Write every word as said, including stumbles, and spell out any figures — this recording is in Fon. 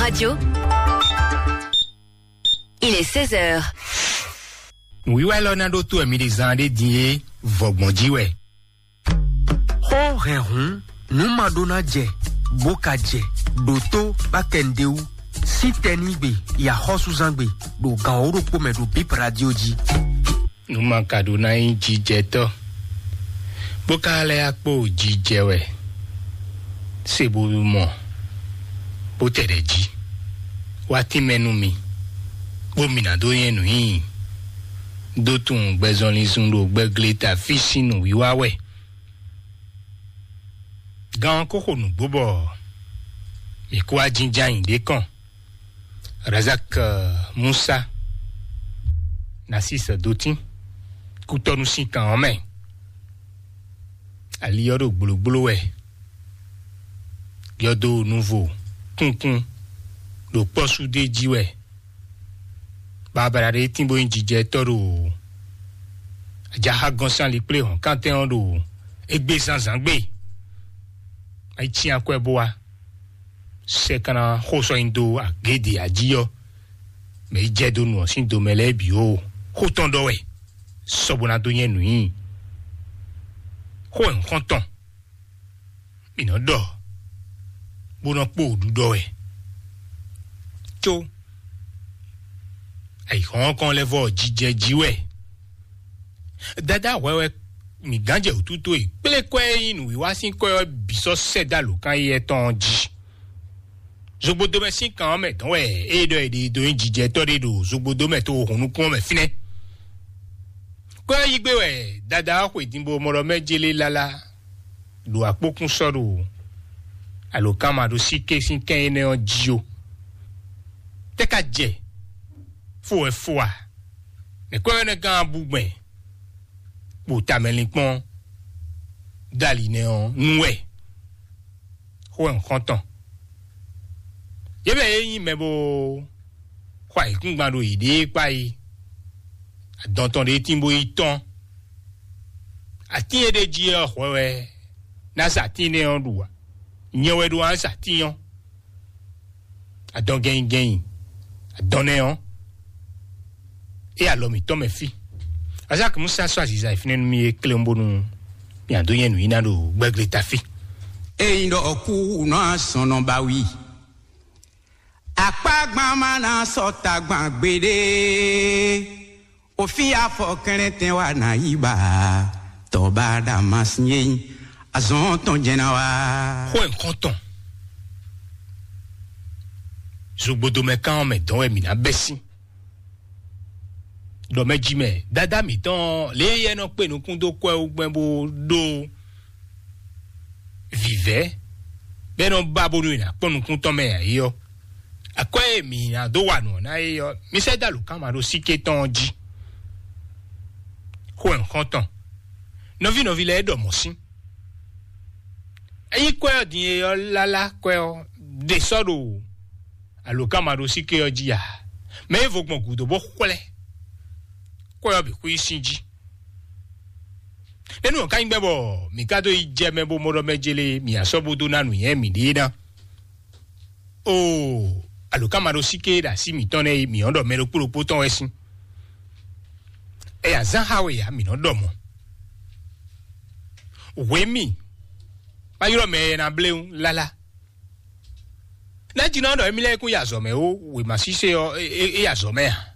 Radio. Il est seize heures. Nǔwiwa élɔ́ ná ɖótó wɛ mi ɖe zán ɖé din é, vɔgbɔn jí wɛ. Xó hɛn hǔn, nǔ ma ɖó ná jɛ, bó ka jɛ, ɖǒtó bá kɛ nǔɖé wú, sín tɛnígbe, yi axɔ́súzángbe, ɖo gan wǒ ɖokpó mɛ ɖo Bip Radio jí. Nú ma ka ɖó ná nyí jijɛtɔ́, bó ka lɛ́ yá kpó jijɛ wɛ, se bo mɔ, bó tɛ ɖɛ jí, wá tínmɛ nú mi, bó mi ná dó nyɛ nǔ nyi, dó tunwun gbɛzɔnlin zun ɖo gbɛgle ta fí sín nǔwiwa wɛ. Gan ɔ́ ko xo nǔgbó bɔ mǐ kó wá jínjɔ́n ayǐ ɖé kɔn. Razak, eh, Musa, Nasis Dotín, kútɔ́nú sín kan ɔ́ mɛ. Ali ɔ́ ɖo gblǒgbló wɛ, yɔdo nuvo kúnkún ɖo kpɔ́súdé jí wɛ. Babala ɖé tín bó nyí jijɛtɔ́ ɖo ajaxá gɔ́nsán likplé hɔ̌nkántɛn ɔ́ ɖo égbé zǎnzǎn gbe. Ayi cyán akwɛ́ bó wá. Sɛ ka ná xo sɔ́ nyi dó agěde ají ɔ́, mɛ yi jɛ dó nu ɔ́ sín domɛ lɛ́ɛ bǐ ó, xó tɔn ɖɔ wɛ, sɔ bó ná dó nyɛ nǔ nyi. Xó wɛ nǔ xɔ́ntɔn, mǐ nɔ ɖɔ, bó nɔ kpó wǔɖuɖɔ wɛ. Có ayǐhɔ́ngɔ́n lɛ́ɛ vɔ jijɛ jí wɛ. Dadá hwɛ wɛ mǐ gán jɛ wǔtútú e kplé kwɛ́ e nyí nǔwiwa sín kwɛ́ ɔ́ bǐ sɔ́ sɛ́ dó alǒkan éyɛ́ tɔn ɔ́ jí. Zogbodomɛ sín kan ɔ́ mɛ dɔn wɛ é ɖɔ è ɖe dó nyí jijɛtɔ́ ɖé ɖo zogbodomɛ to hun nukún ɔ́ mɛ fínɛ́. Kwɛ́ ɔ́ yí gbé wɛ dadá ɔ́ xwe din bo mɔ ɖɔ mɛ jélé lálá ɖo akpókún sɔ́ ɖo alǒkanmaɖósíké sín kɛ́n énɛ́ ɔ́ jí ó. Tɛ́ ka jɛ fó wɛ fó a? Nɛ̌ kwɛ́ énɛ́ gán bú gbɛn kpo tamɛlinkpɔ́n dali nɛ́ ɔ́ nú wɛ? Xó wɛ un xɔ́n tɔn. Yě mɛ e nyí mɛ bó xɔ ayǐkúngban ɖo yěɖée kpá é, adɔn tɔn ɖé tín bó yi tɔ́n. Atín e ɖ'é jí ɔ́ hwɛ wɛ ná sa atín énɛ́ ɔ́ ɖu ǎ. Nyɛ wɛ ɖó ná sa atín ɔ́. Adɔn gɛnyi gɛnyi, adɔn nɛ́ ɔ́, é alɔ mǐtɔn mɛ fí. Azaki Musa sɔ́ aziza e fínɛ́ nú mì é klé bónú mì adó nyɛ nǔ yi ná ɖo gbɛgbléta fí. Eyin ɖɔ kú nɔ asɔnɔ ba wi. Akpagban ma na sɔ tagban gbeɖe. Òfin afɔ kɛnlɛntɛn wa na yi ba. Tɔba da ma sin ye. Azɔn tɔn jɛn na wa. Xó ẹ̀ nǹkan tɔn. Zogbodomɛ kan mɛ dɔn wɛ mǐ ná bɛ́ sín. Ɖɔ mɛ jí mɛ, dada mǐtɔn lě yɛ nɔ kpe nukún dó kwɛ wú gbɛn bó ɖó vǐvɛ́ bɛ́ nɔ ba bónú è nǎ kpɔ́n nukún tɔn mɛ ǎ é ɔ́, akwɛ́ e mǐ ná dó wa nǔ ɔ́ ná é ɔ́, mi sɛ́ dó alǒkanmaɖósíké tɔn ɔ́ jí. Xó ɛ xɔ́ntɔn, nɔví nɔví lɛ́ɛ ɖɔ mɔ̌ sín. Ényí kwɛ́ ɔ́ din e ɔ́ lálá kwɛ́ ɔ́ ɖe sɔ́ ɖo alǒkanmaɖósíké ɔ́ jí ǎ, mɛ e vo gbɔn gǔdo bó xwlɛ́ kwɛ́ ɔ́ bǐ xwí sín jí. Nɛ́nú ɔ́ ka nyí gbɛ́ bɔ mǐ ka dó yi jɛ mɛ bó mɔ ɖɔ mɛ jélé mǐ asɔ́ bó dó ná nǔnywɛ́ mǐɖée ná. Oo, alǒkanmaɖósíké e ɖo así mǐtɔn nɛ́ e mǐ ɔ́ ɖɔ mɛ ɖokpó ɖokpó tɔn wɛ sín. Ɛyǎ zán xá we ǎ, mǐ nɔ ɖɔ mɔ̌. Hwě mì, ma ylɔ́ mɛ e ná bléwún lálá. Nɛ́ jí nɔ ɖɔ émí lɛ́ɛ kún yi azɔ̌ mɛ ó, wěma sísé ɔ́, é, é, é yi azɔ̌ mɛ a?